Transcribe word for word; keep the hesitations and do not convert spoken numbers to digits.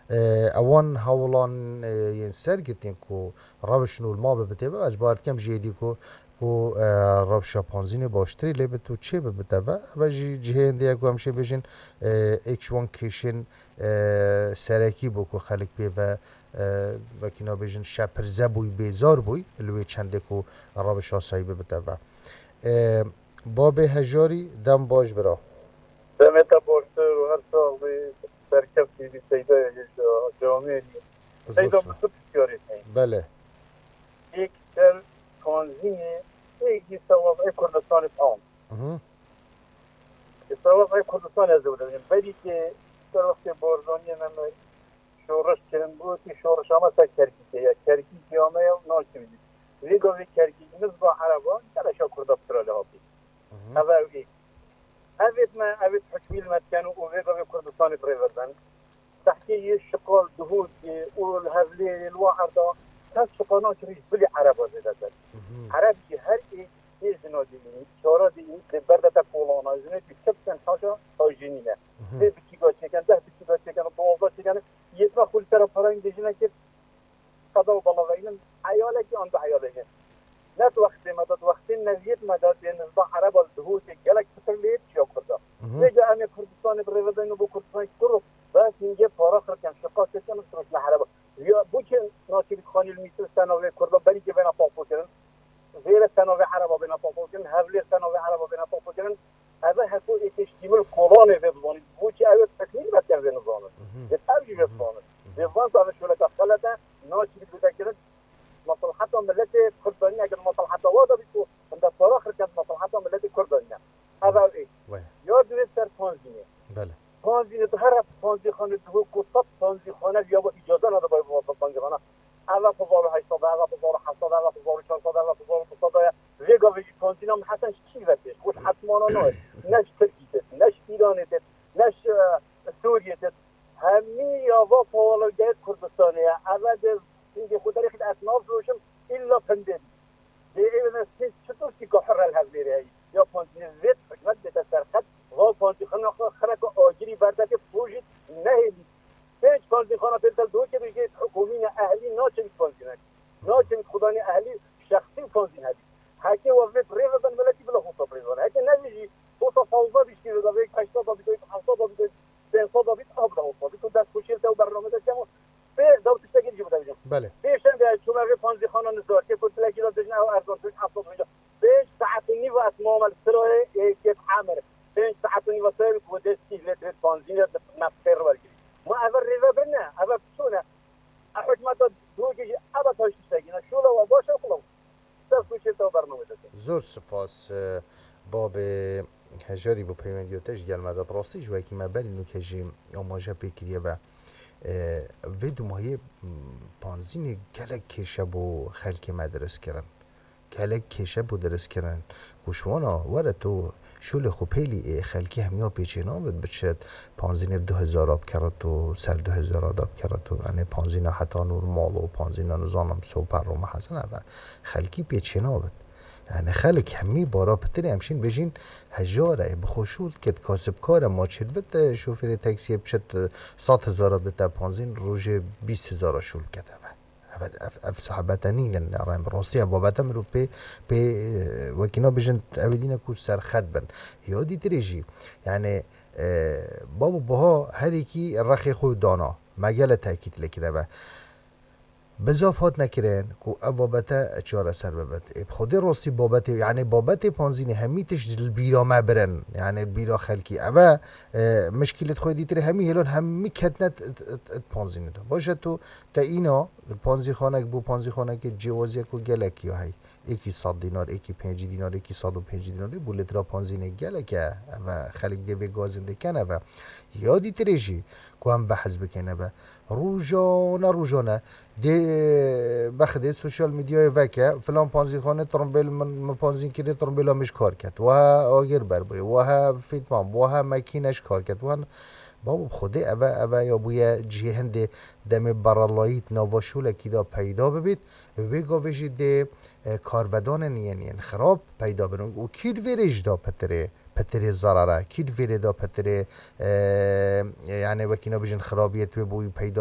E, ewan hewilan, e, yên sergirtîn ku rewş nû li ma bibitê ve, ez bawer dikim jê dî ku, ku, e, rewşa panzînê baştirî lê bit û çê bibite ve. Ve jî cihê hindê ye ku em şê bêjin, e, êk ji wan kêşên, e, serekî bû ku xelk pê ve, e, wekî nabêjin şepirze bûy, bêzar bûy li wê çendê ku rewş asayî bibite ve. E, babê Hejarî, dem baş bira. Demê te baştir û her sax bî, serkeftî bî, seydayê hêja, camêrî. Zor Seyda sağ. Min tu pisyarê heye. Bele. Êk ser panzînê, êk jî ser wez'ê Kurdistanê tam. Mhm. Ê, ser wez'ê Kurdistanê ez ê bidewînim. Berî ke ser wextê Barzaniyê me, me şoreş kirin, gotî şoreşa me ser Kerkûkê ye. Kerkûkê ya me ye û nakevî. Vê gavê Kerkûk nizba Ereba, geleşa Kurda pira lê hatî. Mhm. Ev ew ê. Evêt me, evêt hikmî li me dikin û vê gavê Kurdistanê bi rê ve dibin. Tehkê yê şiqal, Duhokê û li Hevlêrê, li wa erda, kes şiqal nakirî ji bilî Ereba zêdetir. Mhm. Ereb jî her ê tê jina dînî, çara dînî, dê berde te kolana, jinê dî çi bikin haşa, ew jî nîne. Mhm. Dê biçîka çêkin, deh biçîka çêkin, duwazdeh çêkin, yê me xwe li ser parayên dê jinekê qeda û bela veynin, eyalekî an du eyalekî. Ne di wextê me de, di wextên neviyêt me de dê nizba Ereba li Duhokê gelek pitir lê çiya Kurda. Mhm. Vêca em ê Kurdistanê bi rê ve deyn û bo Kurdistanê kur û bes hingê para xirken, şiqal çêkin û firoşne Ereba. Ya bo çi Nakivît Xanî li Mîsir sena vê Kurda berîkê bêne papo kirin? Vêre sena vê Ereba bêne papo kirin, Hevlêr sena vê Ereba bêne papo kirin. Eve heko ê teşkîmil kolanê vê bizanît. Bo çi ew ê tekmîl vetiyen vê nizanin? Mhm. Vê ev jî vê Mhm. bizanin. Mhm. Vê van ev şoleka xelet e, naçî vê kirin. Maslaheta milletê Kurd danîne, eger maslaheta wa da bî ku hinde para xirkend maslaheta milletê Kurd danîne. Ev ev ê. Wê. Ya divê ser panzînê. Bele. Panzînê di her panzîxanê Duhok ku sed panzîxane ya bo îcaze nade bay panzîxana. Eve hezar û heşt sed, eve hezar û heft sed, eve hezar û çar sed, eve hezar û du sed ye. Vê gavê jî panzîna min hesen ji kî ve tê? Ji xwe ji esmana nayê. Ne ji Tirkî têt, ne ji Îranê têt, ne ji, e, Sûriyê têt. Hemî ya va pawalgehê Kurdistanê ye. Eve de hingê xwe derê xît ez navfiroşim, îlla pindê bî. Dê ê ne sê çitur tîka hurre li Hevlêrê heyî. Ya panzî vêt hikûmet bête serqet, va panzî xina xwe xireka agirî berdekê pojît nehêlî. Pênc panzîxana pêl del doke bêjê hikûmî ne ehlî naçin panzînek. Naçin xudanî ehlî şexsî panzîn hebî. Heke wa vêt rê ve ben miletî bila hosa rê ve. Heke ne jî hosa fawza bîştî ve da vê heşta da bî, hafta da bî, pênc sed da bî, ab da hosa bî. Tu dest koşêl te û bername de çemo. Pê daw tiştekî jî bide bijim. Belê. Pêşembe çûme vê panzîxana nizar, kê ku dilekî de dijne ew erzan, tu hafta bijim. Pênc saet û nîv ez mame li Sirayê, ê, kêt Emir. Pênc saet û nîv Sirayê ku destî lê dê panzînê di me pêr wergirî. Ma eve rêve bin ne, eve piçû ne. E, hikûmeta Duhokê jî eve taş tiştekî ne. Şûla wa baş e, xulom. Dest û çê te bername dike. Zor spas, e, babê Hejarî bo peywendiya te ji gel me de. Bi rastî ji wekî me berî nûke jî amaje pê kiriye ve. E, vê dumahiyê, m, panzînê gelek kêşe bo xelkê me dirist kirin. Gelek kêşe bo dirist kirin. Ku ji wana were tu şûlê xwe pêlî ê xelkî hemiya pêçê nabit, biçit panzînê du hezara bikerit û ser du hezara da bikerit û, yanî panzîna heta nûr mal û panzîna nizanim soper û mehezin eve xelkî pêçê nabit. Yani xelk hemî bara pitirê em şîn bêjîn hejar e, bi xwe şûl dikit, kasibkar e, ma çêdibit, e, şofêrê taksiyê biçit, e, sed hezara bite panzîn, rojê bîst hezara şûl dikete ve. Ev, ev, ev sahabete nînin, rem rastî ev babete mirov pê, pê, e, wekî nabêjin, ew ê dîne ku serxet bin. Ya dîtirê jî, yani, e, babo buha her yekî rexê xwe dana. Me gele tekît lê kireve. Bizaf hat nekirin ku ev babete çareser bibit. Ê, bi xwedê rastî babetê, yani babetê panzînê hemî tişt ji li bîra me birin. Yani li bîra xelkî. Eve, e, mişkîlê xwe dîtirê hemî hêlan hemî ketine t-, t-, t-, t-, panzînê de. Baş e tu te îna li panzîxanek bû, panzîxanekê cêwaziyek û gelek ya hey. Êkî sed dînar, êkî pêncî dînar, êkî sed û pêncî dînar, ê bû litra panzînê gelek e. Eve xelk dê vê gazin dê kene ve. Ya dîtirê jî ku em behs bikin eve. Rojane, rojane dê bexdê sosyal medyayê veke, filan panzîxanê trimbêl min, min panzîn kirê, trimbêla min ji kar ket. Weha agir berbûye, weha fîtman, weha mekîne ji kar ket. Weha, babo bi xwedê eve, eve ya bûye cihê hindê demê berelayît nava şûlekî de peyda bibît. Wê gavê jî dê, e, karvedanên yên, yên xirab peyda bin û kî di vê rê jî da pitirê, pitirê zerere, kî di vê rê da pitirê, e, yani wekî nabêjin xirabiyê tu wê bo wî peyda